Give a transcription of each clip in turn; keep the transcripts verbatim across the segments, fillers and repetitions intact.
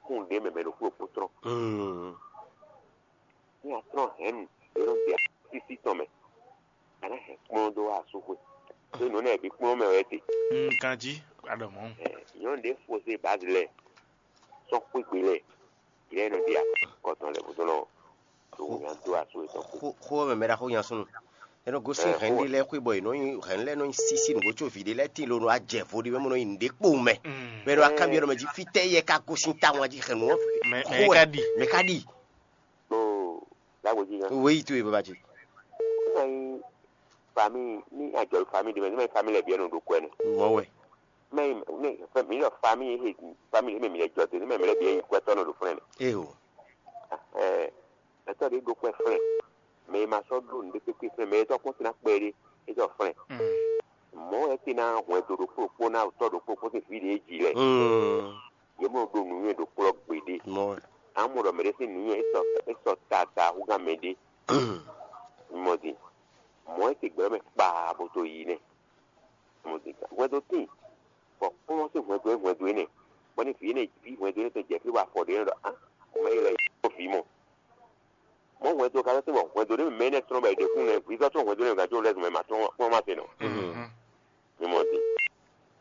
kún ɖě mɛ mɛ ɖokpó ɖokpó tlɔ́n. Mm. Ní a tlɔ́n hɛ̌nnu e nɔ ɖe asísí tɔn mɛ, a nǎ hɛn kplɔ́n dó wá asúxwé. Ɖó nǔ énɛ́ bǐ kplɔ́n mɛ wɛ é te. Mm, ganjí, a ɖɔ mɔ̌. Ɛ, nyɔ̌nu ɖě fó zé bǎzi lɛ sɔ́ xwé gbe lɛ, yě nɔ ɖe akɔtɔn lɛ bó dó nɔ ɖo wǔnya dó asú yětɔn kpó. Xó xó ɔ́ mɛ mɛ ɖaxó nya súnnu. É nɔ gosín Ɛ, hɛ̌n xó ɖé lɛ́ɛ xwé bɔ è nɔ nyi hɛ̌n lɛ́ɛ nɔ nyi sísí nǔgbó có vǐ ɖé lɛ́ɛ tíin lo nɔ wá jɛ vo ɖé mɛ bó nɔ nyi nǔɖé kpowun mɛ. Mm. Bɔ é nɔ wá kanbyɔ́ ɖɔ mɛ jí fítɛ́ yɛ ka gosín tawun jí hɛ̌n nǔ ɔ́ Mɛ- xó mɛ wɛ. Ka ɖi. Mɛ ka ɖi. Ɖó lágbo jí gán. Wéyi towe baba jí. Ní ma nyí famille, ní ajɔ̌ famille ɖé mɛ, ní ma nyí famille lɛ́ɛ bǐ wɛ nɔ ɖo kɔ ɛnɛ. Mɔ̌ wɛ. Mɛ mi ɖɔ famille he famille he mɛ mi lɛ jɔ te, ní mɛ mi lɛ bǐ wɛ nyí kwɛtɔ́ nɔ ɖo flɛ́n nɛ. Ee o. Ɛɛ, mɛtɔ́ ɖé ɖo kɔ ɛ flɛ́n. Mɛ e ma sɔ́ ɖó nǔɖé kpékpé flɛ́n, mɛ e tɔ́ kpɔ́n sín ná kpɛ ɖé, é tɔ́ flɛ́n. Mm. Mɔ̌ wɛ é ná hwɛndo ɖokpó ɖokpó ná tɔ́ ɖokpó kpó sín vǐ ɖě jí lɛ́ɛ. Mm. Yě mɔ ɖo nǔnywɛ́ ɖo kplɔ́ gbeɖé. Mɔ̌ wɛ. Amɔ ɖɔ mɛɖé sín nǔnywɛ́ é sɔ é sɔ tata húgán mɛɖé. Mɔ din. Mɔ̌ é se gbɛ̌ mɛ kpaa bó tó yi nɛ́. Mɔ din. Hwɛndo tíin. Bɔ kplɔ́ sín hwɛndo é hwɛndo énɛ́. Bɔ ní vǐ énɛ́ ví hwɛndo énɛ́ tɔn jɛ fí bɔ afɔ ɖě nɔ ɖɔ á mɛ yi lɛ yi kpó vǐ mɔ. Mɔ̌ hwɛndo ka sɔ́ tín bɔ hwɛndo ɖé mɛ énɛ́ tlɔ́n bɔ è ɖe kún nɛ vǐ sɔ́ tlɔ́n hwɛndo énɛ́ gǎn jó lɛ́ zun mɛ ma tlɔ́n kplɔ́n ma se nɔ. Mhm. Mi mɔ din.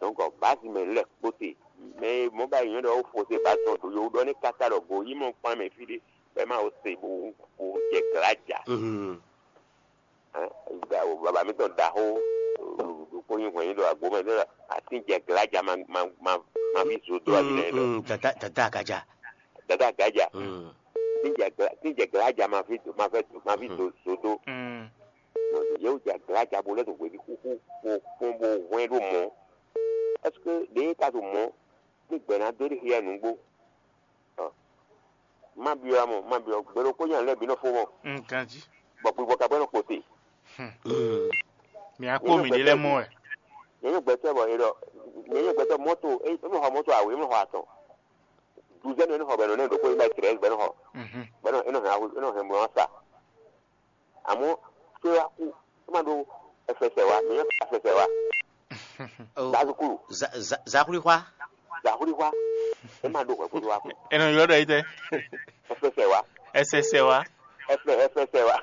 Donc bǎzi mɛ lɛ́ kpó te. Mɛ e mɔ ba yi nyɔ́ ɖɔ ó fo se bǎzi tɔn do yo ɖɔ ní káká ɖɔ go yi mɔ kpán mɛ fí ɖé bɔ é ma wo se bo bo jɛ glǎ ja. Mhm. Baba mi tɔn ɖaxó ɖokpó nyi hwɛ̌n nyi ɖo agbo mɛ ɖɔ atín jɛ glǎ ja ma ma ma ma fi zo dó abi nɛ ɖɔ. Mm, mm, dada dada agaja. Dada agaja. Mm. Tín jɛ glǎ tín jɛ glǎ ja ma fi ma fɛ ma fi zo zo dó. Mm. Yewu jɛ glǎ ja bo lɛ́ ɖo hweví xúxú bo kpɔ́n bo hwɛ́n ɖó mɔ̌. Est-ce que ɖě ka ɖo mɔ̌ ní gbɛ̌ ná dó ɖi xyɛ nǔgbó? Ɔ, má byɔ́ ǎ mɔ, má byɔ́ gbe ɖokpó nya lɛ́ɛ bǐ nɔ fó mɔ, Mm, ganjí. Bɔ gbivɔ ka bɔ nɔ kpo te. Mm. Mi á kpó mǐ ɖé lɛ́ɛ mɔ wɛ. Nyɛ nyɛ gbɛtɔ́ bɔ e ɖɔ, nyɛ nyɛ gbɛtɔ́ mɔto e e nɔ xɔ mɔto awe e nɔ xɔ atɔn. Duzɛn e nɔ xɔ bɛ nɔ ne ɖokpó e ba trɛz bɛ nɔ xɔ Mhm. Bɛ nɔ e nɔ hɛn awu e nɔ hɛn mɔ sa. Àmọ́ tó wá kú, é má ɖó ẹfẹsẹ̀ wá, mǐ nyɔ́ fún ẹfẹsẹ̀ wá. Zazukúlù. Zahulixwá. Zahulixwá. É má ɖó hwɛ̌ kó tó wá kú. Eno yɔ ɖɔ yi tɛ. Ẹfẹsẹ̀ wá. Ẹsẹsẹ wa. Ẹfẹ ẹfẹsẹ̀ wá.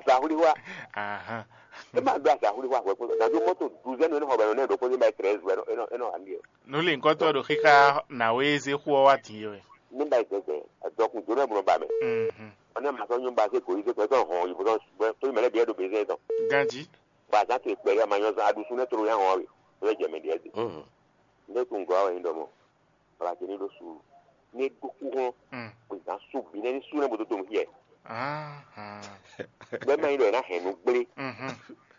Zahulixwá. Ahan. É má ɖó azahulixwá hwɛ̌ kó tó. Gàdú mọ́tò duzɛ́nu énú xɔ bɛ̀rẹ̀ náà ɖokpó ní báyìí trɛ́z wɛ énú àní ẹ̀. Nú lǐnkɔ́tɔ́ ɖo xíxá nǎwe e zé xú ɔ wá din é wɛ. Ní báyìí gbɛgbɛ, dɔkun jǒnɔ ɛ mlɔ ba mɛ. Mhm. Ɔnɛ ma sɔ́ nyɔ́ ba zé gǒ yí zé kɔ é sɔ́ hɔn yi bó sɔ́ bó tó yi mɛ lɛ́ bǐ wɛ ɖo bezɛ́n tɔn. Ganjí. Ba zán to ìkpɛ́ yá ma nyɔ́ zán aɖusú nɛ́ tló yá hɔn ɔ́ we, é lɛ́ jɛ mɛ ɖíe zé. Mhm. Ndé kún gɔ́ wɛ nyí ɖɔ mɔ, baba ce ní ɖó suúlu. Ní é ɖó kú hɔn, Mm. Bó zán sú bǐ nɛ́ ní sú nɛ́ bó dó donu xyɛ. Ahan. Bɛ́ má nyí ɖɔ è nǎ hɛn nǔ gblé. Mhm.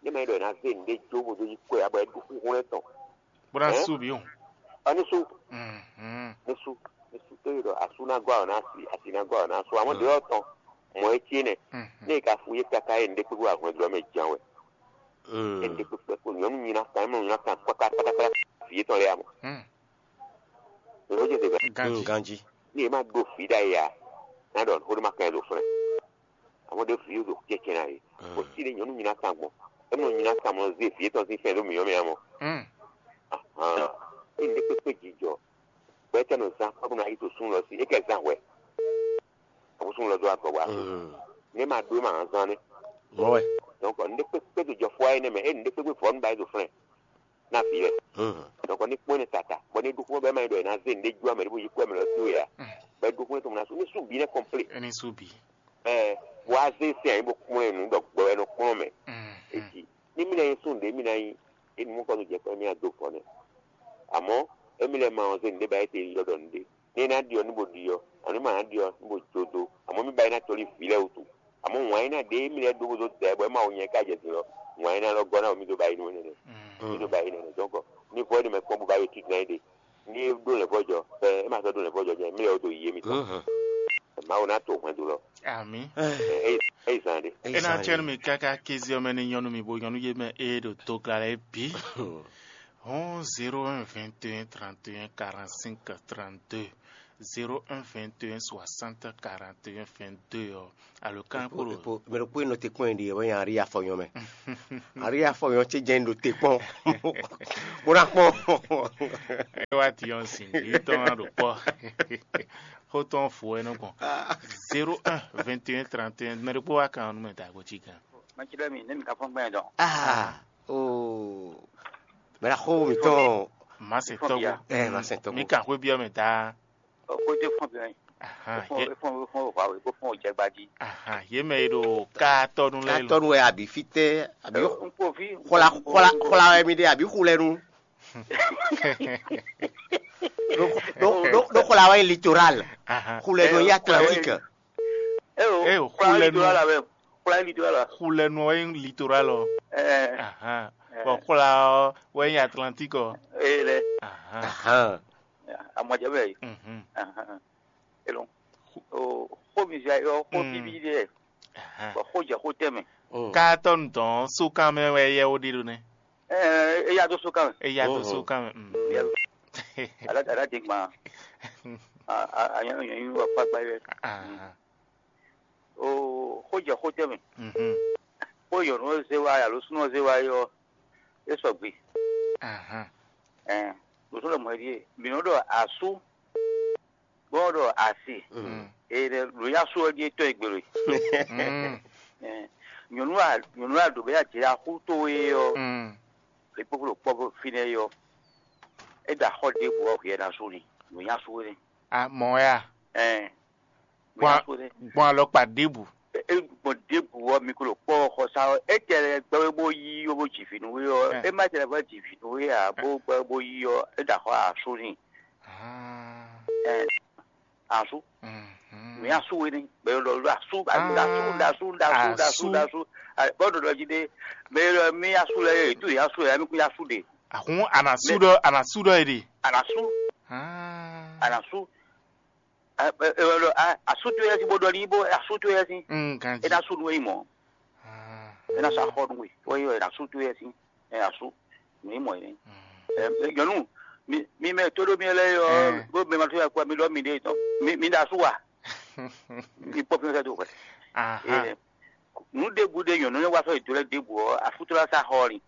Ní má nyí ɖɔ è nǎ zé nǔɖé jó bó dó yí kɔ́ ɛ abɔ é ɖó kú hɔn lɛ́ tɔn. Bó ná Hɛn? Sú bǐ o. Ɔ ní sú, Mhm. Ní sú, ní sú. Tó yí ɖɔ asú ná gɔ́ awɔ ná asi, asi ná gɔ́ awɔ ná sú. Àmọ́ ɖě ɔ́ tɔn, mɔ̌ é cí nɛ. Mhm. Ní è ka fu yé káká é nǔɖé kpékpé wá hwɛndo ɔ́ mɛ jan wɛ. Mm. É nǔɖé kpékpé kpo nyɔ̌nu nyi ná kan, é mɔ nyí ná kan kpákpákpá vǐ yětɔn lɛ́ɛ amɔ. Mm. Lǒ jɛ se Ganjí. Mm, ganjí. Ní è má ɖó vǐ ɖ'ayǐ ǎ, ná ɖɔ xó ɖé má kan ɛ ɖo flɛ́. Àmọ́ ɖě vǐ ɖo kɛ́kɛ́ ná é. Mm. Bó sí ɖé nyɔ̌nu nyi ná kan gbɔn. É mɔ nyi ná kan mɔ zé vǐ yětɔn sín fɛn ɖó mǐyɔ́ mɛ amɔ. Mm. Ahan. Ní nǔɖé kpékpé jijɔ. Bɔ é tɛ́ nɔ zán kpɔ́ bó ná yi to súnnu lɔ sí, é kɛ zán hwɛ. Àbúsúnnu lɔ dó agɔ wá. Mm. Ní ma ɖó ma hán zán nɛ́. Mɔ̌ wɛ. Donc nǔɖé kpékpé tó jɔ fɔ wá énɛ́ mɛ, é nǔɖé kpékpé vɔ̌ nú ba é ɖo flɛ́n ná vǐ lɛ. Mm. Donc ní kpɔ́n énɛ́ tata, bɔ ní ɖó kpɔ́n bɛ́ ma nyí ɖɔ è nǎ zé nǔɖé jó amɛ ɖé bó yi kú amɛ lɔ sí wɛ ǎ. Mm. Bɔ é ɖó kpɔ́n é tó ná sú, ní sú bǐ nɛ́ kɔmplé. É ní sú bǐ. Ɛ, bó wá zé sɛn ɛ bó kplɔ́n ɛ nǔ ɖɔ gbɔ wɛ nɔ kplɔ́n mɛ. Mm. Èjì, ní mí ná nyí sún ɖě mí ná nyí, é nǔ mɔkɔ nú jɛ kpɛ́ mí ná dó vɔ̌ nɛ́. Àmọ́ émí lɛ́ɛ ma wɔn zé nǔɖé ba étɛ́ yi lɔ ɖɔ nǔɖé. Ní é ná ɖyɔ ní bo ɖyɔ, ɔ́ ní ma ná ɖyɔ ní bo jó dó. Àmọ́ mí ba é ná tɔ́ lí vǐ lɛ́ɛ wútu. Àmọ́ wǎn é ná ɖě émí lɛ́ɛ ɖó bó dó da ɛ bɔ é ma wo nyɛ ká jɛ din ɔ́, wǎn é ná lɔ gɔ́ ná wɛ mí dó ba é nú énɛ́. Mí dó ba é nɛ́. Donc ní vɔ́ é ɖi mɛ kpɔ́n bó ba yi ojú ná é ɖe. Ní é ɖó lɛ̌nvɔ́jɔ, ɛ, é ma sɔ́ ɖó lɛ̌nvɔ́jɔ jɛ, mí lɛ́ wó dó yi émítɔn. Mhm. Mawu ná to hwɛndo lɔ. Ami. Ɛ, é, é yi zan ɖe. É ná tsɛ́ nú mi káká kéze ɔ́ mɛ ní nyɔ́ nú mi bó nyɔ́ nú yé mɛ ée ɖo tokla lɛ́ɛ bǐ. Hɔn zéro un vingt et un trente et un quarante-cinq trente-deux. Zéro un vingt et un soixante quarante et un vingt-deux ɔ, alo kan kpo ɖo. Mɛ ɖokpó e nɔ te kpɔ́n ɖi wɛ nyi Ari Afɔnyɔ mɛ. Ari Afɔnyɔ ce jɛn ɖo te kpɔ́n. Bó ná kpɔ́n. E wa ti ɔn sin yi tɔn ɖo kpɔ. Xó tɔn fo ɛ nɔ gbɔn. Zéro un vingt et un trente et un, mɛ ɖokpó wa kan ɔ́ nú mɛ da go ci gan. Mɛ ci ɖɔ mi ne mi ka fɔn gbɛn dɔn. Ah, oh. Mɛ la xó mi tɔn. Ma se tɔgbo. Eh, ma se tɔgbo. Mi kan xwé biɔ mɛ da. Ó kó dé fún obìnrin. Ahan, Ó fún yé, ó fún ó fún ó wà wé bó fún ó jẹ gbají. Ahan, yé mɛ e ɖo ká tɔnu lɛ lo. Katɔnu wɛ abi fitɛ abi Ó ń kó fí. Xɔla xɔla xɔla wɛ mi ɖe abi xulɛnu. Ɖo ɖo ɖo xɔla wɛ litoral. Ahan. Xulɛnu Ɛ, yi Atlantique. Eo, Eo, xulɛnu. Litoral la wɛ. Xulɛnu litoral la. Xulɛnu wɛ litoral ɔ. Ɛ. Ahan. Ɛ. Bɔn xɔla ɔ wɛ Atlantique ɔ. Ee lɛ. Ahan. Ahan. Amɔjɛ bɛ yi. Mhm. Ahan. Elɔn. O xó mi zia yɔ xó Mm. Bíbí ɖe. Ahan. Bɔ xó jɛ xó tɛmɛ. Mm. Katɔnu dɔn sókan mɛ wɛ yɛ wo ɖe ɖo nɛ. Ɛ eya do sókan mɛ. Eya do Mhm. Sókan mɛ. Mm. Eya do. Ala ala de gban. A a a nyɔ nyɔ nyɔ wa kpakpa yɛ. Ahan. O xó jɛ xó tɛmɛ. Mhm. Xó yɔnu zé wa alo súnɔ zé wa yɔ. E sɔgbe. Ahan. Ɛ lǒsɔ́ lɔ mɔ̌ é ɖíe mǐ nɔ ɖɔ asú bó nɔ ɖɔ asi. Mm. Ee ɖe lǒ yá sú ɔ́ ɖíe tɔ́ e gbelo e. Mm. Ɛ, nyɔ̌nu a nyɔ̌nu a ɖǒ bɛ yá jɛ axú towe ɔ́. Mm. È kpókpó ɖo kpɔ́ fínɛ́ é ɔ́, é ɖo axɔ́ ɖěbǔ ɔ́ hwɛ ná sú ni lǒ yá sú é nɛ́. A mɔ̌ ya. Ɛ, Gbɔn gbɔn alɔkpa ɖěbǔ. E gbɔn ɖěbǔ ɔ́, mi ko ɖo kpɔ́ ɔ́ xɔ sá ɔ́, étɛ́ lɛ́ɛ gbɛ́ wé bó yí ɔ́ bó ji vǐ nú we ɔ́, é má tɛ́ lɛ́ vɔ́ ji vǐ nú we ǎ, bó gbɛ́ wé bó yí ɔ́, é ɖo axɔ́ asú n'i. Ɛ, asú. Nǔ nyi asú we ní, mɛ e ɖɔ ɖo asú, ɖo asú, ɖo asú, ɖo asú, ɖo asú, ɖo asú. Bɔ́ ɖo ɖɔ jí ɖé, mɛ e ɖɔ mí asú lɛ́ɛ, yě tú yě asú lɛ́ɛ, mí kún yá asú ɖe. Àhún ànàsú ɖɔ ànàsú ɖɔ è ɖe. Ànàsú. Ànàsú. Ɛ, ɛ, ɛ, ɛ, a- asú towe yɛ sín bó ɖɔ ní bó asú towe yɛ sín. Mm, ganji. É ná sú nú é nyí mɔ̌. Ah. É ná sá xɔ nú we. Wọ́n yí wɛ asú towe yɛ sín. Ɛ asú. Nú é mɔ yɛ. Mm. Ɛ, ɛ, nyɔ̌nu, mi mi mɛ tó ɖó mi lɛ́ɛ yɔ, Eh. Bó mɛ ma tó yà kú mi ɖɔ mi ɖe tɔn. Mi mi ɖo asú wa. Mi kpɔ fi sɛ do hwɛ. Aha. Ɛ, nú ɖěbǔ ɖe nyɔ̌nu ne wá sɔ́ ìdó lɛ́ɛ ɖěbǔ ɔ́, afútúlá sá xɔ ni.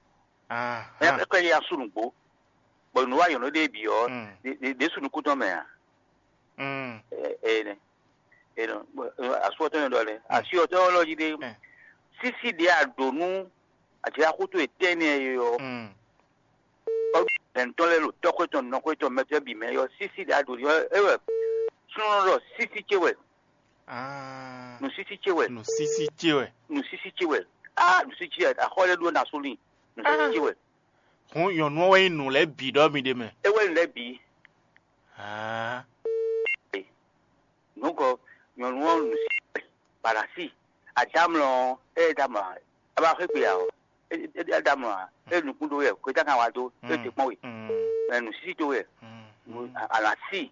Aha. Ɛ kɛ yɛ asú nǔgbó. Bɔ nǔ wa nyɔ̌nu ɖe bǐ ɔ́, Mm. Ɖě ɖě ɖě sú nukún tɔn mɛ ǎ. Mm. Ɛ ɛ nɛ. Ɛ nɔ asú ɔ́ tɔn nyɔ ɖɔ lɛ. Asi ɔ́ tɔn lɔ jí ɖe. Ɛ. Sísí ɖě a ɖǒ nú aɖǐ axútú e tɛ́ nɛ́ é ɔ́. Mm. Ɔ́ lɛ̌ntɔ́ lɛ́ɛ ɖo tɔ́xwé tɔn nɔxwé tɔn mɛtɔ́ bǐ mɛ ɔ́ sísí ɖě a ɖǒ ɔ́ é wɛ. Súnnu ɖɔ sísí ce wɛ. Ah. Nǔsísí ce wɛ. Nǔsísí ce wɛ. Nǔsísí ce wɛ. Ah, nǔsísí ce wɛ. Axɔ́ lɛ́ɛ ɖó ná sú lin. Nǔsísí ce wɛ. Hǔn nyɔ̌nu ɔ́ wɛ nyí nǔ lɛ́ɛ bǐ ɖɔ mi ɖe mɛ. É wɛ nǔ lɛ́ɛ bǐ. Ah. Nǔkɔ nyɔ̌nu ɔ́ nǔsísí wɛ. Balasi. Adámlɔ ɔ́, é é dámlɔ ǎ. É ba xwé gbe ǎ ɔ́. É é é dámlɔ ǎ. É nukún ɖó wɛ. Kwetá kan wá dó. É te kpɔ́n we. Mm. Ɛ nǔsísí tó wɛ. Mm. Alasi.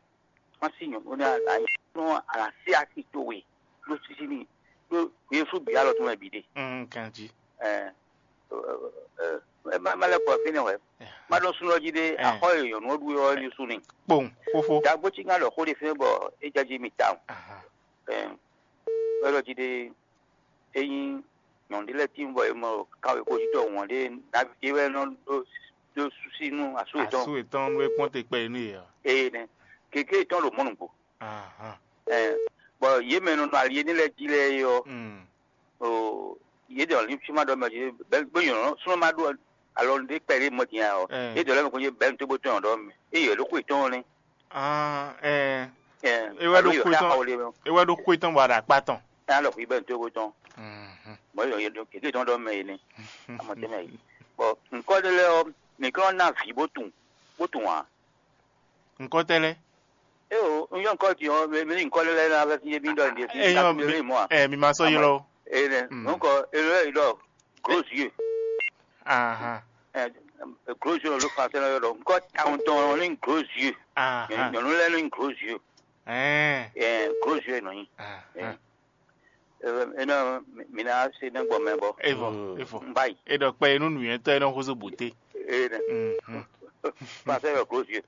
Má sí nyɔ̌nu ní anyɔ̌nu alǎsíásí towe ɖó sísí n'i ɖó Jezu bǐ alɔ tɔn mɛ bǐ ɖe. Mm, ganjí. Ɛ, ɛ, ɛ, ɛ, má má lɛ́ kɔ fínɛ́ wɛ. Má ɖɔ súnnu ɔ́ jí ɖé, axɔ́ e nyɔ̌nu ɔ́ ɖu é ɔ́ ní sú n'i. Kpowun, fófó. Dǎgbó cí ŋá ɖɔ xó ɖé fɛ́n bɔ é jɛ jí mi tawun. Aha. Ɛ, é ɖɔ jí ɖé, ényí nyɔ̌nu ɖé lɛ́ɛ tíin bɔ è mɔ kawexwéjítɔ́ wɔn ɖé nǎví ɖé wɛ nɔ ɖó ɖó súsí nú asú yětɔn. Asú yětɔn nú é kpɔ́n te kpɛ yi nú yě ɔ́. Eye nɛ, gěgé yětɔn ɖo mɔ̌ nǔgbó. Ahan. Ɛ, bɔ yě mɛ nɔ nɔ ali énɛ́ lɛ́ɛ jí lɛ́ɛ é ɔ́, Mm. o, yě ɖɔ ní fí ma ɖɔ mɛ jí bɛ́ bó nyɔ̌ súnmọ́ má ɖó alɔ ɖé kpɛɖé mɔ din ǎ ɔ́, Ɛ. Yě ɖɔ lɛ́ mɛ kɔn jí bɛ́ ní tó bó tɔn ɖɔ mɛ. Eye ɖó xwe tɔn nɛ́. Ah, ɛ. Ɛ, É wɛ ɖó alo yě xwe wɔ tɔn. Xaxawo ɖé mɛ. É wɛ ɖó xwe tɔn bɔ aɖakpa tɔn. Ɛ, alɔ xwe bɛ́ ní tó bó tɔn. Mhm. Mɔ̌ yě ɖɔ kéké tɔn ɖɔ mɛ yě nɛ́. Amɔ tɛ́ mɛ yě. Bɔ nǔkɔ ɖé lɛ́ɛ ɔ́, mǐ kɔn ná vǐ bó tunwun, bó tunwun ǎ. Nǔkɔ tɛ́ lɛ́ɛ? Eo, un yɔ nǔkɔ din ɔ́, mɛ mɛ nǔkɔ lɛ́ɛ ná vɛ́ fí mí ɖɔ nǔɖé fí. Eyɔn mi ɛ mi ma sɔ́ ylɔ́ o. Ene, Mm. Nǔkɔ enu lɛ́ɛ yi ɖɔ gros yeux. Ahan. Ɛ, gros yeux ló français lɔ yɔ ɖɔ nǔkɔ tawun tɔn ní gros yeux. Ahan. Nyɔ̌nu lɛ́ɛ ní gros yeux. Ɛɛ. Ɛ, gros yeux nɔ nyi. Ahan. Ɛ, ɛ, ɛ, mi ná se nɛ́ gbɔ mɛ bɔ. Evɔ, Mm. Evɔ. N ba yi. E ɖɔ kpɛ inú nǔnywɛ́tɔ́ e nɔ xóso bǔté. Ene. Mhm. Français yɔ gros yeux.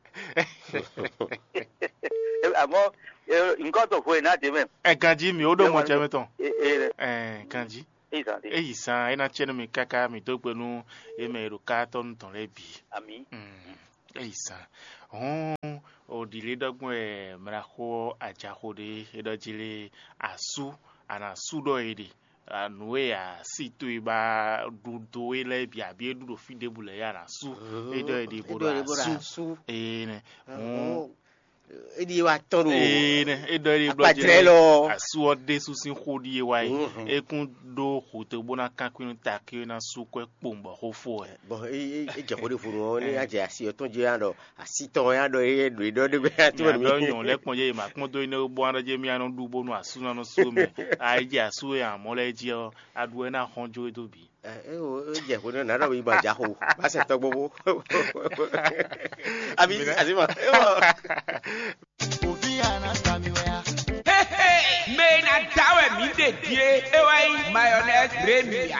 Ɛ, àmọ́ Tɔn vo e ná dé mɛ. Ɛ ganjí mi ó ɖo mɔ jɛ mɛ tɔn. E e Ɛ ganjí. E zan de. Eyi zan é ná tsɛ nú mi káká mi dó gbe nú yé mɛ e ɖo ká tɔn nú tɔn lɛ́ɛ bǐ. Ami. Mm, eyi zan. Hɔn o ɖi lé ɖɔgbɔn ɛ mla xó ajaxo ɖé é ɖɔ jí lé asú ana sú ɖɔ é ɖe. Nǔ e a si towe ba ɖu do é lɛ́ɛ bǐ abǐ é ɖu ɖo fí ɖěbǔ lɛ́ɛ ya ná sú. É ɖɔ é ɖi bó ɖo asú. Énɛ́. Hɔn é ɖi wa tɔn ɖo. Énɛ́ é ɖɔ é ɖi blɔ akpajlɛ lɔ. Asú ɔ́ ɖésú sín xó ɖíe wá yi. É kún ɖó xutó bó ná kankun nú takí é ná sú kwɛ kpowun bɔ xó fó wɛ. Bɔn é jɛ xó ɖé vo nɔ ní adze asi ɔtɔn jɛ ya ɖɔ asi tɔn ya ɖɔ é ɖo é ɖɔ ɖé bɛ ya tó Mia ɖɔ nyɔ lɛ kpɔn yé ma kpɔn dó énɛ́ bó aɖɔ jɛ mia nɔ ɖu bónú asú nɔ nɔ sú mɛ. Ayi jɛ asú e amɔ lɛ jí ɔ́, aɖu wɛ ná xɔn jó é dó bǐ. Ɛ é o é jɛ xó nɛ nǎ ɖɔ mi ma ja xo ba sɛ tɔgbo bó. Abi asi ma. Mɛ e ná da wɛ mǐ ɖe ɖíe é wá nyí mayonnaise Remia.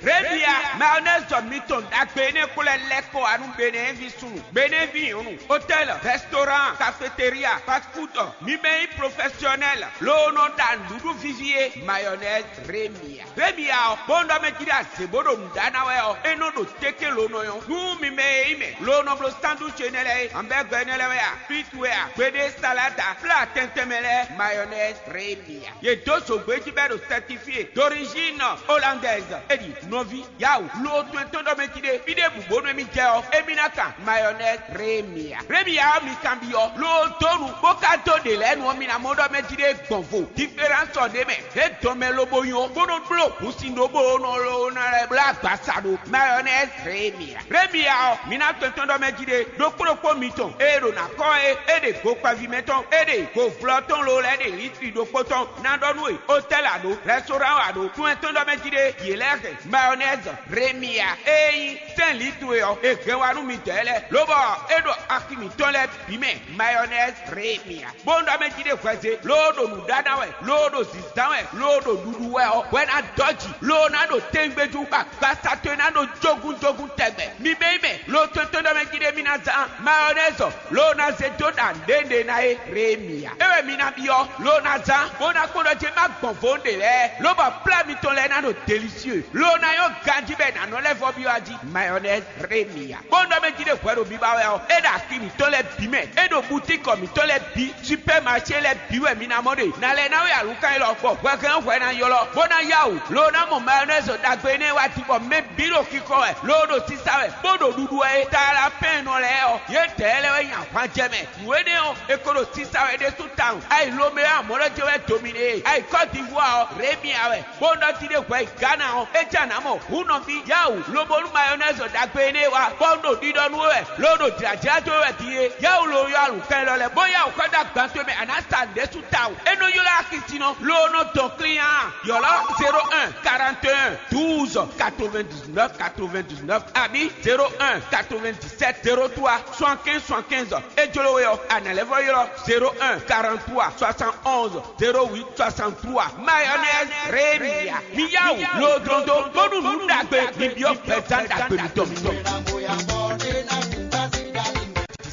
Remia mayonnaise mitɔn ɖagbe énɛ́ kplɔ́ lɛ́ kɔ wá nú Benin ví súnnu, Benin ví nyɔ̌nu, hôtel, restaurant, cafétéria, fast food, mi mɛ nyí professionnel ló nɔ ɖa nǔɖuɖu víví é, mayonnaise Remia. Remia ɔ́, bó nɔ ɖɔ mɛ jí ɖo azě bó ɖo nǔ ɖa ná wɛ ɔ́, é nɔ ɖo téké lǒ nɔ nyɔ́. Nú mi mɛ e nyí mɛ ló nɔ bló sandwich énɛ́ lɛ́ɛ é, hamburger énɛ́ lɛ́ɛ wɛ a, frite wɛ a, gbeɖé salada, plat tɛntɛn mɛ lɛ́ɛ, mayonnaise Remia. Yě dó zǒgbé jí bɔ é ɖo certifié d'origine hollandaise. É ɖi nɔví, yawu, lo to ɛtɔn ɖɔ mɛ jí ɖé, fí ɖěbǔ bónú émí jɛ ɔ́, émí ná kan mayonnaise Remia. Remia ɔ́, mi kanbyɔ́, lo dó nu, bó ka dó ɖě lɛ́ɛ nu ɔ́, mi ná mɔ ɖɔ mɛ jí ɖé gbɔn vo. Différence ɔ́ ɖ'é mɛ, é dɔn mɛ lobo nyɔ, bó nɔ bló hǔnsin ɖó bó nɔ lo ná lɛ́ bló agbaza ɖo mayonnaise Remia. Remia ɔ́, mi ná tɔn tɔn ɖɔ mɛ jí ɖé, ɖokpó ɖokpó mitɔn e ɖo ná kɔ é, é ɖe gokpɛví mɛtɔn, é ɖe go vlɔ tɔn lo lɛ́ɛ ɖe litri ɖokpó tɔn ná ɖɔ nú we, hôtel a ɖo, restaurant a ɖo, tún ɛtɔn ɖɔ mɛ jí ɖé, yě lɛ́ɛ hɛn mayonnaise Remia e nyí sɛ́n litri e ɔ́, è hɛn wá nú midɛɛ lɛ́ɛ, lobɔ é ɖo axi mǐtɔn lɛ́ɛ bǐ mɛ mayonnaise Remia. Bó nɔ ɖɔ mɛ jí ɖé hwɛzé, loo ɖo nǔ ɖa ná wɛ, loo ɖo zǐzán wɛ, loo ɖo ɖuɖu wɛ ɔ́, hwɛ ná dɔ́ jǐ, loo ná ɖo tɛngbéjú, bɔ agbaza towe ná ɖo jógúnjógún tɛgbɛ. Mi bɛ́ mɛ, lo tɔn tɔn ɖɔ mɛ jí ɖé mi ná zán mayonnaise, loo ná zé dó ɖa nǔɖé ná é Remia. É wɛ mi ná byɔ́, loo ná zán, bó ná kpɔ́n ɖɔ jé má gbɔn vo ɖě lɛ́ɛ, lobɔ plá mitɔn lɛ́ɛ ná ɖo délicieux, loo ná nyɔ́ ganjí bɔ è nǎ nɔ lɛ́ vɔ́ byɔ́ ají mayonnaise Remia. Bó nɔ mɛ jí ɖé hwɛ ɖo biba wɛ ɔ́, é ɖo axi mǐtɔn lɛ́ɛ bǐ mɛ, é ɖo butíkɔ mǐtɔn lɛ́ɛ bǐ, supɛ́maṣé lɛ́ɛ bǐ wɛ mi ná mɔ ɖe. Nǎ lɛ́ ná wɛ alǔkan élɔ́, bɔ hwɛhɛn hwɛ ná ylɔ́, bó ná yá wǔ, loo ná mɔ mayonnaise ɖagbe énɛ́ wá din, bɔ mɛ bǐ ɖo xixɔ wɛ, loo ɖo sisa wɛ, bó ɖo ɖuɖu wɛ é. Talapɛ́nnɔ lɛ́ɛ ɔ́, yědɛɛ lɛ́ɛ wɛ nyi ahwan jɛ mɛ. Nǔ énɛ́ ɔ́, è ko ɖo sisa wɛ ɖésú tawun. Ayi Lomeo amɔ̌ lɛ́ jɛ wɛ dominé e. Ayi Kɔ́divuwa ɔ́, Remia wɛ. Bó nɔ jí ɖé hwɛ yi Ghana ɔ́, é jɛ nǎ mɔ hǔn nɔví yawu, lobo nú mayonnaise ɖagbe énɛ́ wá, bɔ un ɖo ɖiɖɔ nú we wɛ, loo ɖo jlǎjlá dó we wɛ din é. Yawu lo yɔ alukɛn lɔ lɛ́ɛ, bó yawu xɔ dó agban towe mɛ, a nǎ sa nǔɖésú tawun. É nɔ ylɔ́ axisinnɔ, loo nɔ dɔn klín á. Yɔ̌lɔ́ zéro un, quarante et un, douze, quatre-vingt-dix-neuf, quatre-vingt-dix-neuf, abǐ zéro un, quatre-vingt-dix-sept, zéro trois, soixante-quinze, soixante-quinze. É jló we ɔ́, a nǎ lɛ́ vɔ́ ylɔ́ zéro un, quarante-trois, soixante-onze, zéro huit, soixante-trois. Mayonnaise Remia. Mi yá wǔ loo dlɔ́n dó, bónú nǔ ɖagbe mi byɔ́ gbɛzán ɖagbe mitɔn.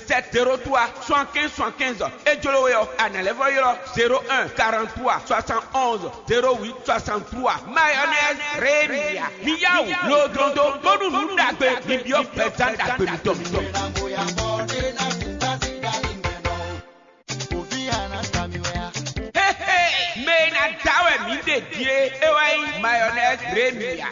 Sept zéro trois, soixante-quinze, soixante-quinze. É jló we ɔ́, a nǎ lɛ́ vɔ́ ylɔ́ zéro un, quarante-trois, soixante-onze, zéro huit, soixante-trois. Mayonnaise Remia. Mi yá wǔ loo dlɔ́n dó, bónú nǔ ɖagbe mi byɔ́ gbɛzán ɖagbe mitɔn. Mɛ e ná da wɛ mǐ ɖe ɖíe, é wá nyí mayonnaise Remia.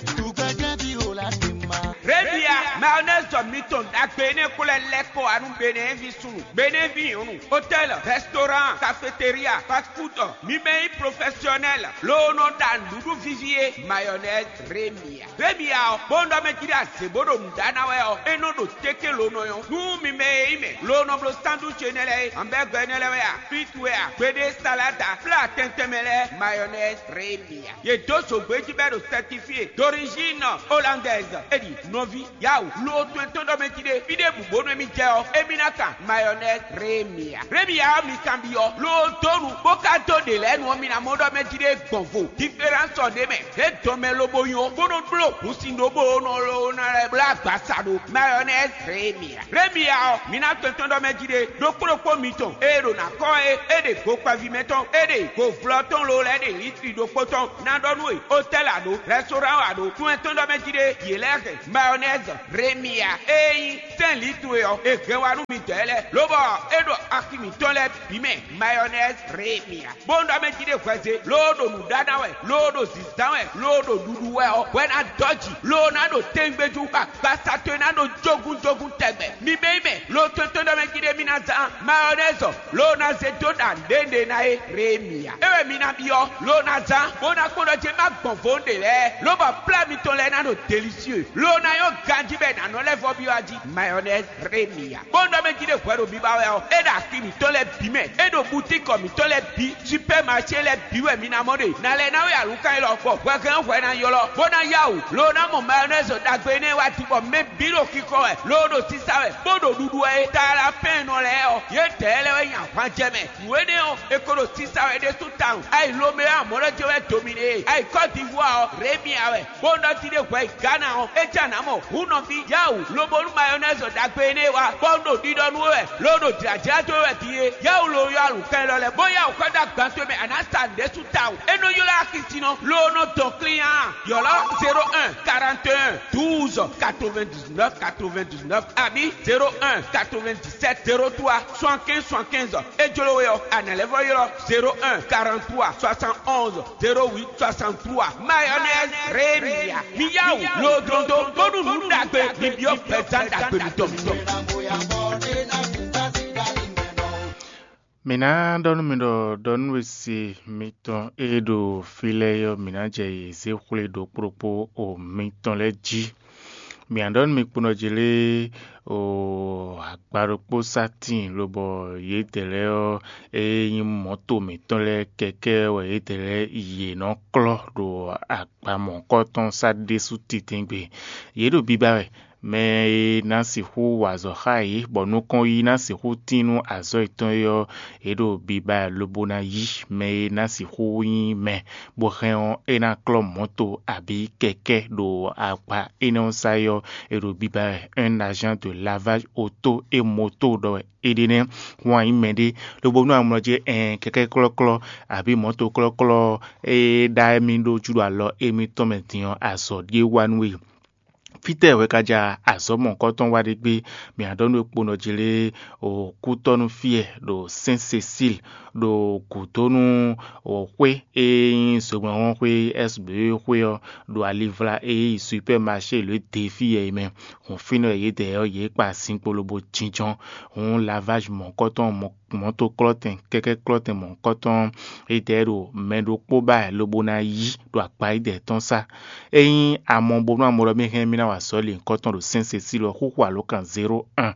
Remia mayonnaise mitɔn ɖagbe énɛ́ kplɔ́ lɛ́ kɔ wá nú Benin ví súnnu, Benin ví nyɔ̌nu, hôtel, restaurant, cafétéria, fast food, mi mɛ nyí professionnel loo nɔ ɖa nǔɖuɖu víví é, mayonnaise Remia. Remia ɔ́, bó nɔ ɖɔ mɛ jí ɖo azě bó ɖo nǔ ɖa ná wɛ ɔ́, é nɔ ɖo téké lǒ nɔ nyɔ́. Nú mi mɛ e nyí mɛ loo nɔ bló sandwich énɛ́ lɛ́ɛ é, hamburger énɛ́ lɛ́ɛ wɛ a, frite wɛ a, gbeɖé salada, plat tɛntɛn mɛ lɛ́ɛ, mayonnaise Remia. Yě dó zǒgbé jí bɔ é ɖo certifié d'origine hollandaise. É ɖi nɔví, yawu, loo tɔn tɔn ɖɔ mɛ jí ɖé, fí ɖěbǔ bónú émí jɛ ɔ́, émí ná kan mayɔnɛzi rémia. Rémia ɔ́, mi kanbyɔ́, ló dó nu, bó ka dó ɖě lɛ́ɛ nu ɔ́, mi ná mɔ ɖɔ mɛ jí ɖé gbɔn vo. Diferánsɔ ɖé mɛ, é dɔn mɛ lobo nyɔ, bó nɔ bló hǔnsin ɖó bó nɔ ló ná lɛ́ bló agbasa ɖó mayɔnɛzi rémia. Rémia ɔ́, mi ná tɔn tɔn ɖɔ mɛ jí ɖé, ɖokpó ɖokpó mitɔn e ɖo ná kɔ é, é ɖe go kpaví mɛ tɔn, é ɖe go vlɔ tɔn ló lɛ́ ɖe litri ɖokpó tɔn, ná ɖɔ nú we, otɛ́l a ɖó, rɛstorán a ɖó, tún ɛ tɔn ɖɔ mɛ jí ɖé, yě lɛ́ hɛn mayɔnɛzi rémia e nyí sɛ́n litru e ɔ́, è hɛn wá nú midɔɛ lɛ́ɛ, lobɔ é ɖo axi mǐtɔn lɛ́ɛ bǐ mɛ mayɔnɛzi rémia. Bó ɖɔ mɛ jí ɖé hwɛze, loo ɖo nǔ ɖá ná wɛ, loo ɖo zǐzán wɛ, loo ɖo ɖuɖu wɛ ɔ́, hwɛ ná dɔ́ jǐ, loo ná ɖo tɛngbéjú, agbasa towe ná ɖo jógúnjógún tɛgbɛ. Mi bɛ́ yi mɛ, loo tɔn tɔn ɖɔ mɛ jí ɖé mi ná zán mayɔnɛzi, loo ná zé dó ɖa nǔɖé ná é rémia. É wɛ mi ná byɔ́, loo ná zán, bó ná kpɔ́n ɖɔ jé má gbɔn vo ɖě lɛ́ɛ, lobɔ plá mitɔn lɛ́ɛ ná ɖo delisieu, loo ná nyɔ́ ganjí bɔ è nǎ nɔ lɛ́ vɔ́ byɔ́ a jí mayɔnɛzi rémia. Bó ɖɔ mɛ jí ɖé hwɛ ɖo biba wɛ ɔ́, é ɖo axi mǐtɔn lɛ́ɛ bǐ mɛ, é ɖo butíkɔ mǐtɔn lɛ́ɛ bǐ, supɛ́maṣé lɛ́ɛ bǐ wɛ mi ná mɔ ɖe. Nǎ lɛ́ ná wɛ alǔkan élɔ́, bɔ hwɛhɛn hwɛ ná ylɔ́, bó ná yá wǔ, loo ná mɔ mayɔnɛzi ɖagbe énɛ́ wá din, bɔ mɛ bǐ ɖo xixɔ wɛ, loo ɖo sisa wɛ, bó ɖo ɖuɖu wɛ é. Talafɛ́nnɔ lɛ́ɛ ɔ́, yědɛɛ lɛ́ɛ wɛ nyi ahwanjɛ mɛ. Nǔ énɛ́ ɔ́, è ko ɖo sisa wɛ ɖésú tawun. Ayi Lomé ɔ́, amɔ̌ lɛ́ jɛ wɛ do mì ɖe. Ayi Kɔ́divuwaa ɔ́, Rémia wɛ. Bó nɔ ti ɖé hwɛ yi Gana ɔ́, é jɛ nǎ mɔ hǔn nɔví yáwǔ, lobo nú mayɔnɛzi ɖagbe énɛ́ wá, bɔ un ɖo ɖiɖɔ nú we wɛ, lo ɖo jlǎjlá dó we wɛ din é. Yáwǔ lo yɔ alǔkɛn lɔ lɛ́ɛ, bó yáwǔ xɔ dó agban towe mɛ, a nǎ sa nǔɖé sú tawun. É nɔ ylɔ́ axisínɔ, lo nɔ dɔn klín a? Ylɔ́ zéro un, quarante et un, douze, quatre-vingt-dix-neuf, quatre-vingt-dix-neuf, abǐ zéro un, quatre-vingt-dix-sept, zéro trois, soixante-quinze, soixante-quinze. É jló we ɔ́, a nǎ lɛ́ vɔ́ ylɔ́ zéro un, quarante-trois, soixante-onze, zéro huit, soixante-trois. Mayonnaise Rémia. Mi yá wǔ lodlondo bónú nǔ ɖagbe mi byɔ́ gbɛzán ɖagbe mitɔn. Mǐ ná ɖɔ nú mi ɖɔ ɖɔ nú we se mitɔn e ɖo fí lɛ́ɛ ɔ́, mǐ ná jɛ yě zé xwlé ɖokpó ɖokpó o mitɔn lɛ́ɛ jí. Mǐ ná ɖɔ nú mi kponɔ jí lé o agba ɖokpó sá tíin, lobɔ yědɛɛ lɛ́ɛ ɔ́, e nyí mɔ̌to mǐtɔn lɛ́ɛ kɛkɛ́ wɛ yědɛɛ lɛ́ɛ yě nɔ klɔ́ ɖo agba mɔ̌kɔtɔn sá ɖésú titɛngbé. Yě ɖo biba wɛ. Mɛ e ná sixú wa azɔ̌ xá yě, bɔ nukɔn yí ná sixú tín nú azɔ̌ yětɔn é ɔ́, yě ɖo biba wɛ lobo ná yí. Mɛ e ná sixú nyí mɛ bó hɛn ɔ́, é ná klɔ́ mɔ̌to abǐ kɛkɛ́ ɖo akpa énɛ́ ɔ́ sá é ɔ́, è ɖo biba wɛ. Un agent de lavage auto et moto ɖɔ wɛ é ɖe nɛ́. Hwan nyí mɛɖé, lobo nú amlɔ jí ɛn kɛkɛ́ klɔ́klɔ́ abǐ mɔ̌to klɔ́klɔ́ e ɖa émí ɖó júɖo alɔ émítɔn mɛ din ɔ́, azɔ̌ ɖíe wa nú we. Fítɛ́ wɛ ka ja azɔ̌ mɔ̌kɔtɔn wa ɖé gbé? Mǐ ná ɖɔ nú we kponɔ jí lé o kútɔ́nú fíɛ ɖo Sɛ́n Sesíl ɖo gǔdo nú xwé e nyí zogbɛ́nxɔ́xwé S B xwé ɔ́, ɖo alivla e nyí Supɛ́maṣé lě dě fí yɛ é mɛ. Hǔn fínɛ́ wɛ yědɛɛ ɔ́, yě kpa zinkpo lobo jínjɔ́n. Hǔn lavázi mɔ̌kɔtɔn mɔ̌toklɔ́tɛn kɛkɛ́klɔ́tɛn mɔ̌kɔtɔn yědɛɛ ɖo mɛ ɖokpó ba wɛ lobo ná yí ɖo akpa yědɛɛ tɔn sá. Ényí a mɔ bónú a mɔ ɖɔ mì hɛn mì ná wa azɔ̌ linkɔtɔn ɖo Sɛ́n Sesíl ɔ́, xúxú alǒkan zéro un,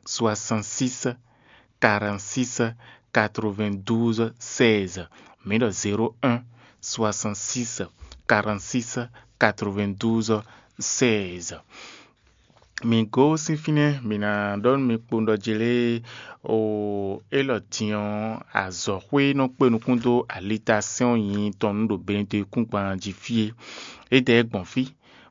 soixante-six, quarante-six, quatre-vingt-douze, seize. Mǐ ɖɔ zéro un, soixante-six, quarante-six, quatre-vingt-douze, seize. Mǐ gosín fínɛ́, mǐ ná ɖɔ nú mi kpowun ɖɔ jlé o élɔ́ din ɔ́, azɔ̌xwé e nɔ kpé nukún dó alitasɛ́n ɔ́ nyi tɔn nú ɖo Benedekúngban jí fí é. É dɛ gbɔn fí,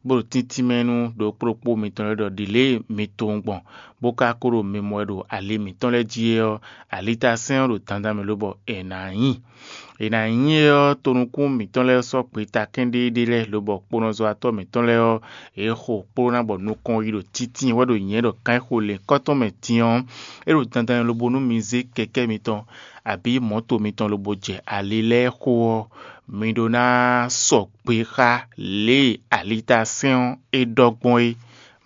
bó ɖo tíntín mɛ nú ɖokpó ɖokpó mitɔn lɛ́ɛ ɖɔ ɖi lě e mi tunwun gbɔn, bó ka ko ɖo mimɔ wɛ ɖo ali mǐtɔn lɛ́ɛ jí é ɔ́, alitasɛ́n ɔ́ ɖo dandan mɛ lobɔ è nǎ nyi. È nǎ nyi é ɔ́, tonukún mǐtɔn lɛ́ɛ sɔ́ gbeta kɛ́ɖéɖé lɛ́ɛ, lobɔ kponɔzɔ́watɔ́ mǐtɔn lɛ́ɛ ɔ́, yě xo kpló ná bɔ nukɔn yi ɖo títí wɛ ɖo nyɛ̌ ɖɔ kán xo lěkɔ́tɔn mɛ din ɔ́, é ɖo dandan lobo nú mi zé kɛkɛ́ mitɔn, abǐ mɔ̌to mitɔn lobo jɛ ali lɛ́ɛ xo ɔ́, mi ɖó ná sɔgbe xá lě e alitasɛ́n ɔ́ é ɖɔ gbɔn é.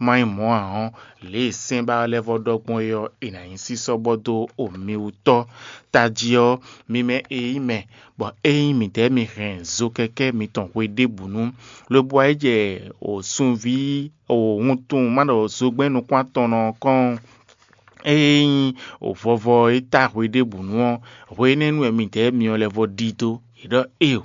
Má nyí mɔ̌ ǎ ɔ́, lě e sɛ́n ba ɔ́ lɛ́ vɔ́ ɖɔ gbɔn é ɔ́, è nǎ nyí sísɔ́ bɔ dó o mi wú tɔ́. Tají ɔ́, mi mɛ e nyí mɛ, bɔ ényí midɛɛ mi hɛn zo kɛkɛ́ mitɔn hweɖěbǔnu, lobo wá yi jɛ o sunví o wuntun má ɖɔ zogbɛ́n nukún-atɔnnɔ ɔ́ kɔn, ényí o vɔvɔ e ta hweɖěbǔnu ɔ́, hwe énɛ́ nu wɛ midɛɛ myɔ lɛ́ vɔ́ ɖidó. È ɖɔ éeǒ,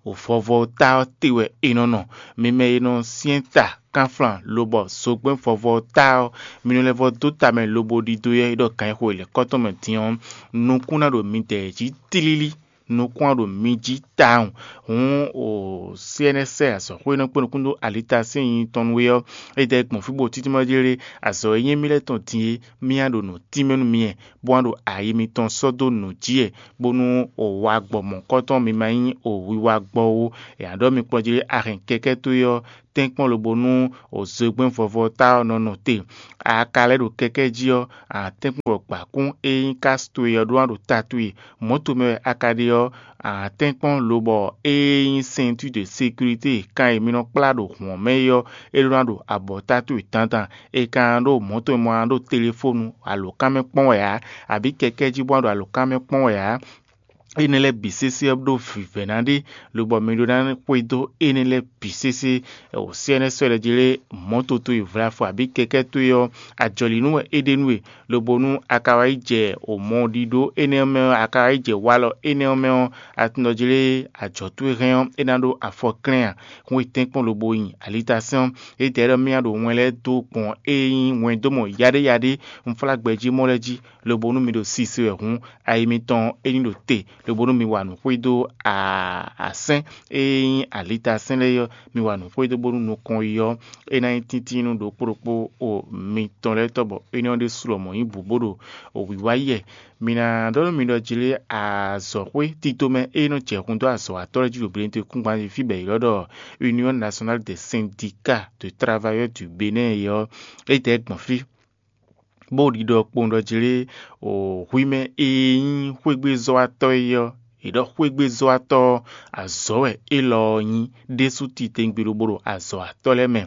Vɔvɔ ta ɔ́ te wɛ è nɔ nɔ. Mi mɛ e nɔ syɛ́n ta kánflán lobɔ zogbɛ́n vɔvɔ ta ɔ́, mi nɔ lɛ́ vɔ dó ta mɛ lobo ɖidó yɛ é ɖɔ gǎn e xo è lɛ̌ kɔ́ tɔn mɛ din ɔ́, nukún ná ɖo midɛɛ jí tlílí. Nukún ɔ́ ɖo mi jí tawun. Hǔn o C N S azɔ̌xwé e nɔ kpé nukún dó alita sín nyi tɔn nú we ɔ́, é dɛ gbɔn fí bó títí mɔ jí lé. Azɔ̌ e nyí émí lɛ́ɛ tɔn din é, mì wá ɖo nǔ tínmɛ nú mi wɛ, bó wá ɖo ayi mitɔn sɔ́ dó nǔ jí wɛ, bónú o wa gbɔ mɔ̌kɔ́tɔn mi ma nyí o wiwa gbɔ ó. È nǎ ɖɔ mi kplɔ́n jí lé, a hɛn kɛkɛ́ towe ɔ́ tɛ́nkpɔ́n lobo nú o zogbɛ́n vɔvɔ ta ɔ́ nɔ nɔ te. A ka lɛ́ ɖo kɛkɛ́ jí ɔ́, a nǎ tɛ́nkpɔ́n bɔ gbǎkún e nyí kási towe ɔ́ ɖó ná ɖo ta towe. Mɔ̌ tomɛ wɛ a ka ɖe ɔ́, a nǎ tɛ́nkpɔ́n lobɔ ée nyí ceinture de sécurité kan e mi nɔ kplá ɖo hǔn ɔ́ mɛ é ɔ́, é ɖó ná ɖo abɔ̌ta towe dandan. È ka ná ɖo mɔ̌ tomɛ mɔ ná ɖo telefónu alǒkan mɛ kpɔ́n wɛ ǎ, abǐ kɛkɛ́ jí bó ná ɖo alǒkan mɛ kpɔ́n wɛ ǎ. Énɛ́ lɛ́ɛ bǐ sésé ɔ́ ɖó vǐvɛ́ná ɖé, lobɔ mi ɖó ná xwedó énɛ́ lɛ́ɛ bǐ sésé. O C N S wɛ ɖɔ jí lé, mɔ̌ toto e vlafɔ abǐ kɛkɛ́ towe ɔ́, ajɔ̌línú wɛ é ɖe nú we, lobo nú a ka wá yi jɛ o mɔ ɖiɖó énɛ́ ɔ́ mɛ ɔ́, a ka wá yi jɛ walɔ énɛ́ ɔ́ mɛ ɔ́, a tunɔ jí lé ajɔ̌ towe hɛn ɔ́, é ná ɖó afɔ klɛ́n ǎ. Hún e tɛ́nkpɔ́n lobo nyi alitasɛ́n ɔ́, étɛ́ ɖɔ mì wá ɖo wɛn lɛ́ɛ dó gbɔn e nyí wɛndómɔ yaɖéyaɖé unflágbɛjí mɔ lɛ́ɛ jí, lobo nú mi ɖo sise wɛ hǔn, ayi mitɔn é ní ɖo te, lobo nú mi wa nǔ xwedó asɛ́n e nyí alitasɛ́n lɛ́ɛ ɔ́, mi wa nǔ xwedó bónú nukɔn yi ɔ́, é ná nyí tíntín nú ɖokpó ɖokpó o mitɔn lɛ́ɛ tɔ́, bɔ énɛ́ ɔ́ ɖésú lɔmɔ̌ nyí bǔ bó ɖo wǐwá yɛ. Mi ná ɖɔ nú mi ɖɔ jí lé azɔ̌xwé tito mɛ e nɔ jɛ hun dó azɔ̌watɔ́ lɛ́ɛ jí ɖo Benɛte kúngban jí fí bɔ è ylɔ́ ɖɔ Union Nationale des Syndicats de Travailleurs du Bénin é ɔ́, é dɛ̌ gbɔn fí. Bó ɖiɖɔ kpowun ɖɔ jí lé o hwi mɛ e nyí xwégbezɔ́watɔ́ é ɔ́, è ɖɔ xwégbezɔ́watɔ́ ɔ́, azɔ̌ wɛ élɔ́ ɔ́ nyí ɖésú titewungbe lobo ɖo azɔ̌watɔ́ lɛ́ɛ mɛ,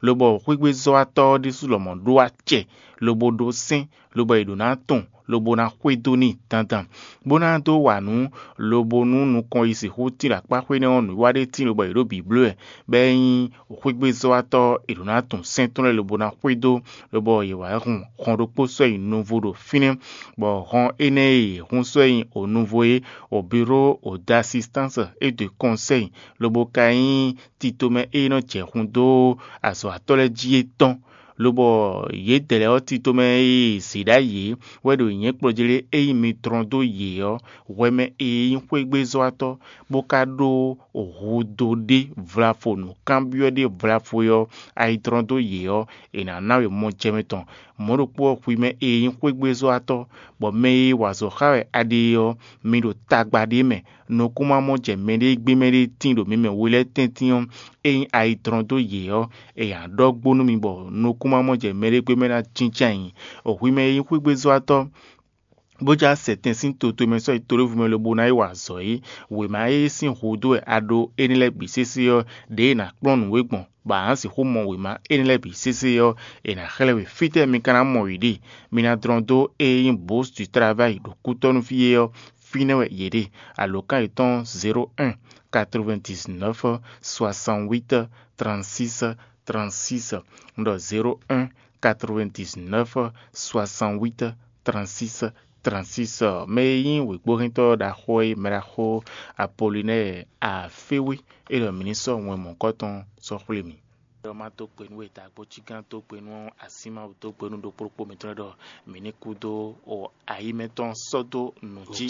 lobɔ xwégbezɔ́watɔ́ ɔ́ ɖésú lɔmɔ̌ ɖó acɛ lobo ɖó sɛ́n, lobɔ è ɖǒ ná tunwun, lobo ná xwedó n'i dandan, bó ná dó wa nǔ, lobo nú nukɔn yi sixú tín ɖo akpá xwé nɛ́ ɔ́, nǔwiwa ɖé tín lobɔ è ɖǒ bǐ bló wɛ, bɔ é nyí xwégbezɔ́watɔ́ è ɖǒ ná tunwun sɛ́n tɔn lɛ́ɛ lobo ná xwedó, lobɔ yě wá hun hɔn ɖokpó sɔ́ nyi nuvo ɖo fínɛ́, bɔ hɔn énɛ́ e yě hun sɔ́ nyi onuvo é, o bureau o d'assistance et de conseil, lobo ka nyí titomɛ e nɔ jɛ hun dó azɔ̌watɔ́ lɛ́ɛ jí é tɔn, lobɔ yědɛɛ lɛ́ɛ ɔ́ titomɛ e zě ɖ'ayǐ é wɛ ɖo nyɛ̌ kplɔ́ jí lé, ényí mi dlɔ́n dó yě ɔ́, hwɛ mɛ e nyí xwégbezɔ́watɔ́, bó ka ɖó hudó ɖé vlafo nǔkanbyɔ́ ɖé vlafo é ɔ́, ayi dlɔ́n dó yě ɔ́, è nǎ ná we mɔjɛmɛ tɔn. Mɔ̌ ɖokpó ɔ́, hwi mɛ e nyí xwégbezɔ́watɔ́, bɔ mɛ e wa azɔ̌ xá wɛ a ɖe é ɔ́, mi ɖo tagba ɖé mɛ, nukún ma mɔ jɛ mɛɖé gbé mɛɖé tíin ɖo mi mɛ we lɛ́ɛ tɛ́ntin ɔ́, ényí ayi dlɔ́n dó yě ɔ́, è nǎ ɖɔ gbo nú mi bɔ nukún ma mɔ jɛ mɛɖé gbé mɛ ná jínjɔ́n ayǐ. Hwi mɛ e nyí xwégbezɔ́watɔ́, bó já sɛ tɛn sín to towe mɛ sɔ́ yi toɖévú mɛ lobo ná yi wa azɔ̌ é. Wěma e sín hudó wɛ a ɖó énɛ́ lɛ́ɛ bǐ sésé ɔ́, ɖěe è nǎ kplɔ́n nǔ we gbɔn, bɔ a nǎ sixú mɔ wěma énɛ́ lɛ́ɛ bǐ sésé ɔ́, è nǎ xlɛ́ we fítɛ́ mi ka ná mɔ yě ɖe. Mi ná dlɔ́n dó e nyí Bourse du Travail ɖo kútɔ́nú fí é ɔ́, fínɛ́ wɛ yě ɖe. Alǒkan yětɔn zéro un, quatre-vingt-dix-neuf, soixante-huit, trente-six, trente-six. Un ɖɔ zéro un, quatre-vingt-dix-neuf, soixante-huit, trente-six, trente-six. Mɛ e nyí wěgbóhɛntɔ́ ɖaxó e mɛ ɖaxó Apolinɛ́ɛ Aféwé é ɖɔ mǐ ní sɔ́ wɛn mɔ̌kɔ́tɔn sɔ́ xwlé mì. Ɖɔ má dó gbe nú we, Dǎgbójígán dó gbe nú Asímáwu, dó gbe nú ɖokpó ɖokpó mǐtɔn lɛ́ɛ ɖɔ mǐ ní kú dó o ayǐmɛtɔn sɔ́ dó nǔ jí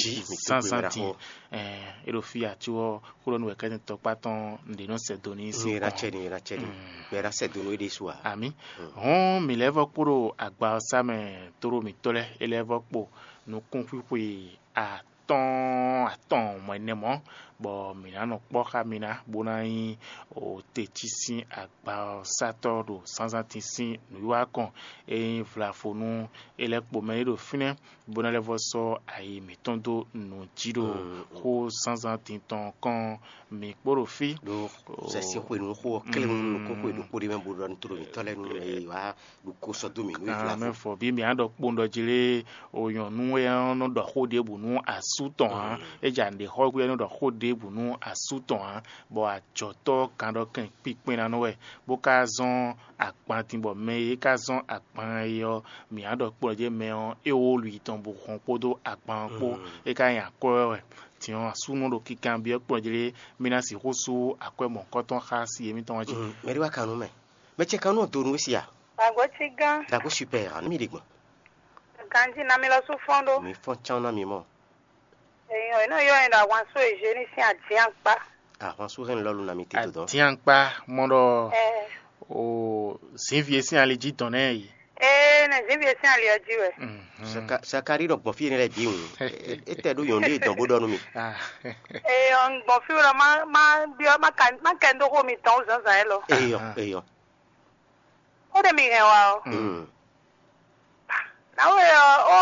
zánzán din. Ɛɛ, é ɖo fí ati ɔ́, xó ɖɔ nú wɛ kɛ́tɛn tɔkpá tɔn ɖě nɔ sɛ do ní sí kɔn. Ní era cɛ ní era cɛ ní. Gbɛ era sɛ do nú é ɖésú a? Ami. Hɔn mǐ lɛ́ vɔ kpo ɖo agba ɔ́ sá mɛ, tóɖó mǐtɔn lɛ́ɛ é lɛ́ vɔ kpo nukún xwixwe atɔ́ɔ́n atɔn mɔ ɛnɛ mɔ̌, bɔ mǐ ná nɔ kpɔ́ xá mi ná, bó ná nyí o te cí sín agba ɔ́ sátɔ́ ɖo zánzántin sín nǔwiwa kɔn. É nyí vlafonu é lɛ́ kpo mɛ é ɖo fínɛ́, bó ná lɛ́ vɔ sɔ́ ayi mǐtɔn dó nǔ jí ɖo xó zánzántin tɔn kɔn mǐ kpó ɖo fí. Ɖó sɛsí xwe nú xó ɔ́ klé nú nukún xwe ɖokpó ɖé mɛ bó ɖɔ nú tóɖo mǐtɔn lɛ́ɛ nú mɛ e wá ɖu kó sɔ́ dó mǐ nú Amɛ ìflafo. Fɔ bí mǐ á ɖɔ kpowun ɖɔ jí lé, o nyɔ̌nu e ɔ́ nɔ ɖɔ xó ɖěbǔ nú asú tɔn ǎ. É jɛ nǔɖé xɔ gbe ɔ́ nɔ ɖɔ xó ɖě ɖěbǔ nú asú tɔn ǎ, bɔ ajɔ̌tɔ́ ɔ́ kan ɖɔ kɛn kpinkpɛn ná nɔ wɛ, bó ka zɔ́n agban din bɔ mɛ e é ka zɔ́n agban é ɔ́, mǐ á ɖɔ kplɔ́n jɛ́n mɛ ɔ́ é wó lu tɔn bó hɔn kpódó agban ɔ́ kpó, é ka nyí akwɛ́ wɛ. Din ɔ́, asú nɔ ɖo kinkanbyɔ́ kplɔ́n jlé mì ná sixú sú akwɛ́ mɔ̌hunkɔtɔn xá si émítɔn ɔ́ jí. Mɛɖé wá kan nú mɛ. Mɛ ce kan nú ɔ́ do nú we si a? Agbo cí gán. Dago super, anu mi ɖi gbɔn. Ganji na mi lɔ sú fɔn ɖó. Mi fɔn can na mi mɔ. Èèyàn iná yọ ẹ̀dá wọn só èyí ní sín àdín àpá. Ahwan sú hɛn lɔlu na mi tito dɔn. Diankpa mɔ ɖɔ Ẹ o zinvie sín ali jí dɔn nɛ yi. Ee, nɛ zínvi e sín ali ɔ jí wɛ. Mhm. Saka- sakari ɖɔ gbɔn fí yẹn lɛ bí wun. Etɛ ɖó yɔn ɖé dɔn bó ɖɔ nú mi. Ah, Ee, ɔn gbɔn fí wɛ má má biɔ má ka má kɛ ndó xó mi tɔn ó zǎnzǎn yɛ lɔ. Eyɔ, eyɔ. Ó ɖe mi hɛn wa o. Mm. Náwó yɛ ɔ ó